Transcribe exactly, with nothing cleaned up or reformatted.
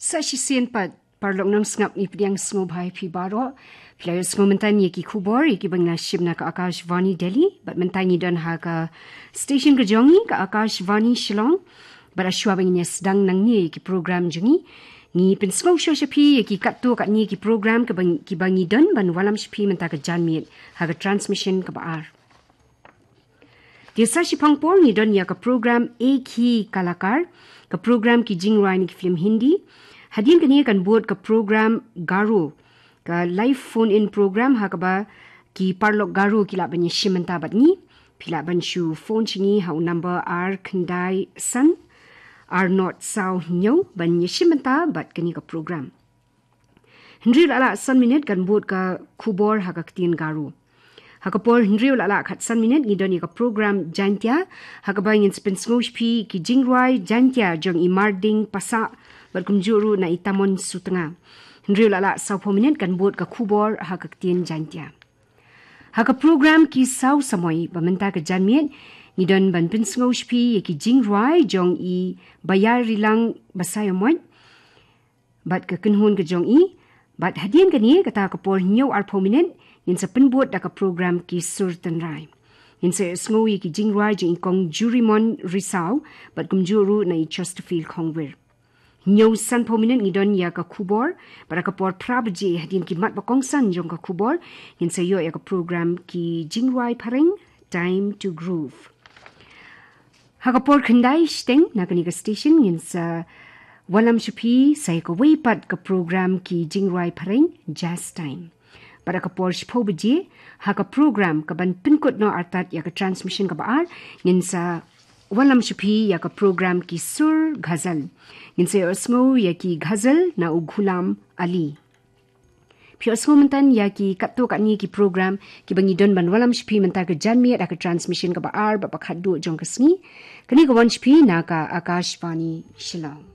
Sa shisien pat, paralok nongsngap, ngi pdiang sngewbha ïa phi baroh. Phi la ïohsngew mynta ïa ki khubor ïa kiba ngi la shim na ka Akashvani Delhi, bad mynta ngi don ha ka station ka jong ngi, ka Akashvani Shillong. Bad shuwa ba ngin ïa sdang nangne ïa ki program jong ngi, ngi pynsngew shuwa sha phi ïa ki katto katne ki program kiba, kiba ngi don ban wallam sha phi mynta ka janmiet ha ka transmission kaba ar. Te sa shiphang por ngi don ïa ka program Ek Hi Kalakar, ka program ki jingrwai na ki film Hindi. Hadien kane kan bud ka program Garo, ka live phone in program ha kaba ki paralok Garo ki lah ban ïashim bynta bad ngi. Phi lah ban shu phone sha ngi ha u number ar khyndai san, ar not saw hynñiew ban ïashim bynta bad kane ka program. Hynriew la lah san minit kan bud ka khubor ha ka ktien Garo. Ha ka por hynriew la lah khatsan minit ngi don ïa ka program Jaintia, ha kaba ngin sa pynsngew sha phi ki jingrwai Jaintia jong i Marding Passah bad kumjuh ruh na i Tamon Sutnga. Hynriew la lah sawphew minit kan bud ka khubor ha ka ktien Jaintia. Ha ka program Ki Saw Samoi ba mynta ka janmiet, ngi don ban pynsngew sha phi ïa ki jingrwai jong i Bayarilang Basaiawmoit bad ka kynhun ka jong i. Bad hadien kane, kata ka por hynñiew arphew minit, ngin sa pynbud da ka program Ki Sur Tynrai. Ngin sa ïohsngew ïa ki jingrwai jong i Kong Jurimon Risaw bad kumjuh ruh na i Chesterfield Khongwir. Hynñiew sanphew minit ngi don ïa ka khubor, bad ha ka por phra baje, hadien ki mat ba kongsan jong ka khubor, ngin sa ïoh ïa ka program Ki Jingrwai Phareng, Time to Groove. Ha ka por khyndai shiteng na kane ka station ngin sa wallam sha phi sa ïa kawei pat ka program Ki Jingrwai Phareng, Jazz Time. Bad ha ka por shiphew baje, ha ka program kaban pynkut noh artat ïa ka transmission kaba ar, ngin sa wallam sha phi ïa ka program Ki Sur Ghazal. Ngin sa ïohsngew ïa ki ghazal na u Ghulam Ali. Phi ïohsngew mynta ïa ki katto katne ki program kiba ngi don ban wallam sha phi mynta ka janmiet ha ka transmission kaba ar bad ba khatduh jong ka sngi. Kane ka wan sha phi na ka Akashvani Shillong.